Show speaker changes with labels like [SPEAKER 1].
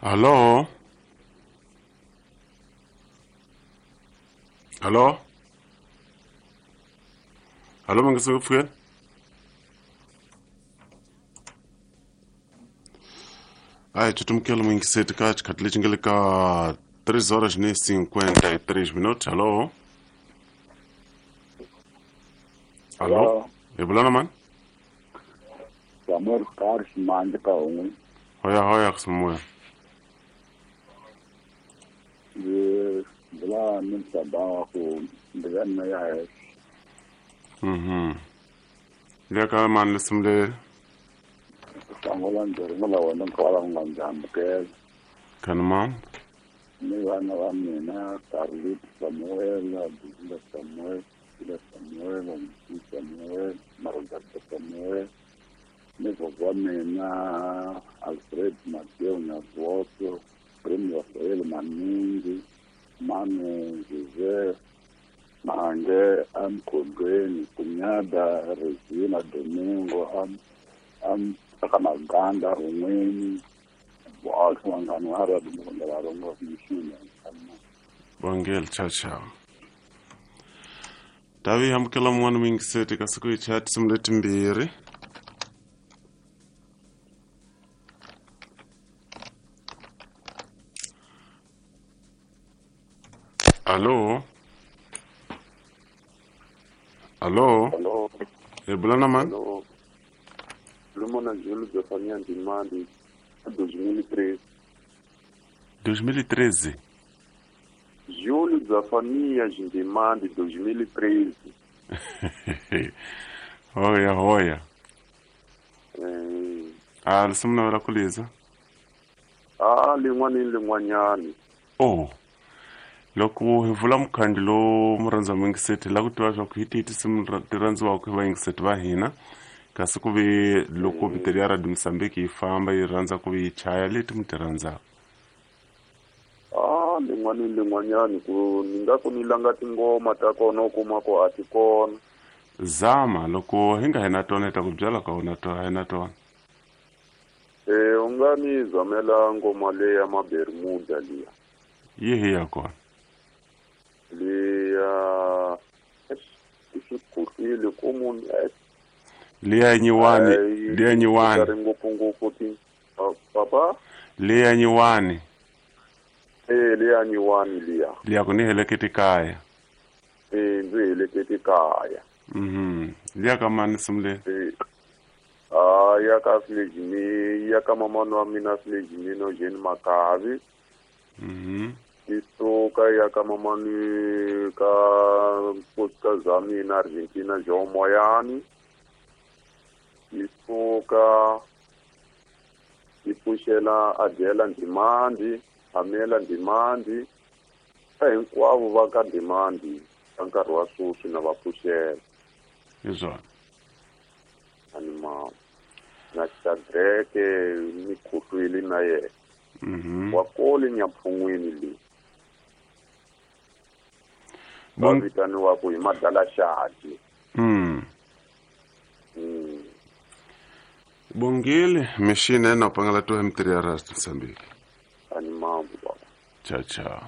[SPEAKER 1] Alô? Alô? Alô, mangisi kupfukela? A hi cutumukelo muyingiseti ka xikhathi lexi nga le ka 3 horas ni 53 minutos. Alô? Alô? Hi vula na mani?
[SPEAKER 2] Samuel Carlos Mandi ka un'we.
[SPEAKER 1] Hoya hoya Samuel.
[SPEAKER 2] Ndzi vula ni msaba wa ku mbilu ya ya
[SPEAKER 1] Mhm. Le ka mani lisimu leri?
[SPEAKER 2] Sangola ndzi ringula wena nkwala u nga ndzi amukela.
[SPEAKER 1] Kani mama?
[SPEAKER 2] Ni vana va mina Carlit Samuel, Buzila Samuel, Buzila Samuel, Msi Samuel, Margarita Samuel, ni gogo wa mina Alfred Mateo Nyavoto, Primo Rafael Maningi, Manu Jose Mange Amkhondweni, Kunyada Regina Domingo, am aka Maganda Run'weni, vanghani va ra Domingo va rongo mixini.
[SPEAKER 1] Bongel ciao ciao. Tavi amukela mun'wana muyingiseti ka siku hi chaya tinsimu letimbirhi. Alô? Alô?
[SPEAKER 3] Alô,
[SPEAKER 1] Hi bula na mani?
[SPEAKER 3] alô. Lumona Júlio Zefania Ndimandi, 2013.
[SPEAKER 1] 2013.
[SPEAKER 3] Júlio Zefania Ndimandi, 2013.
[SPEAKER 1] Hoya hoya.
[SPEAKER 3] Eh,
[SPEAKER 1] A lisimu navela ku liza.
[SPEAKER 3] ah, lin'wana ni lin'wanyani.
[SPEAKER 1] Oh. Loko hi vula mukhandlu lowu murhandza muyingiseti hi lava ku tiva swa ku hi tihi tinsimu ti rhandziwaka hi vayingiseti va hina kasi ku ve loko miteri ya Radio Mozambique yi famba yi rhandza ku ve yi chaya leti mi ti rhandzaka.
[SPEAKER 3] Ah, lin'wana ni lin'wanyani ku ni nga ku ni langa tingoma ta kona u kuma ku a ti kona.
[SPEAKER 1] Zama loko hi nga hi na tona hi ta ku byela ka u na tona hi na tona.
[SPEAKER 3] Eh, u nga ni zamela ngoma leya ya Mabermuda liya.
[SPEAKER 1] Yihi ya kona?
[SPEAKER 3] Liya i swi khuhlile ku munhu
[SPEAKER 1] Liya nyiwani, liya nyiwani,
[SPEAKER 3] ri ngopfungopfu ti papa
[SPEAKER 1] liya nyiwani,
[SPEAKER 3] eh liya nyiwani liya.
[SPEAKER 1] liya ku ni heleketi kaya.
[SPEAKER 3] Eh ndzi heleketi kaya.
[SPEAKER 1] Mhm. Liya ka mani nsimu leyi?
[SPEAKER 3] Eh ah ya ka Sledge ya ka mamani wa mina Sledge no Jane Makavi.
[SPEAKER 1] Mhm.
[SPEAKER 3] Isuka ya ka mamani ka nkosikazi wa mina Argentina Joe Moyani. Isuka yi pfuxela Adela Ndimandi, Amela Ndimandi, ka hinkwavo va ka Ndimandi ka nkarhi wa sweswi na va pfuxela.
[SPEAKER 1] Hi swona.
[SPEAKER 3] Ani na Shadrake ni khuhlwile na yena.
[SPEAKER 1] Mhm.
[SPEAKER 3] Wa kole Nyampfun'wini leyi. Va vitaniwaku hi Madalaxadi.
[SPEAKER 1] Mm. Bongile mixini ena pangala to M3 ya Radio Mozambique.
[SPEAKER 3] Ani mambo baba.
[SPEAKER 1] Ciao ciao.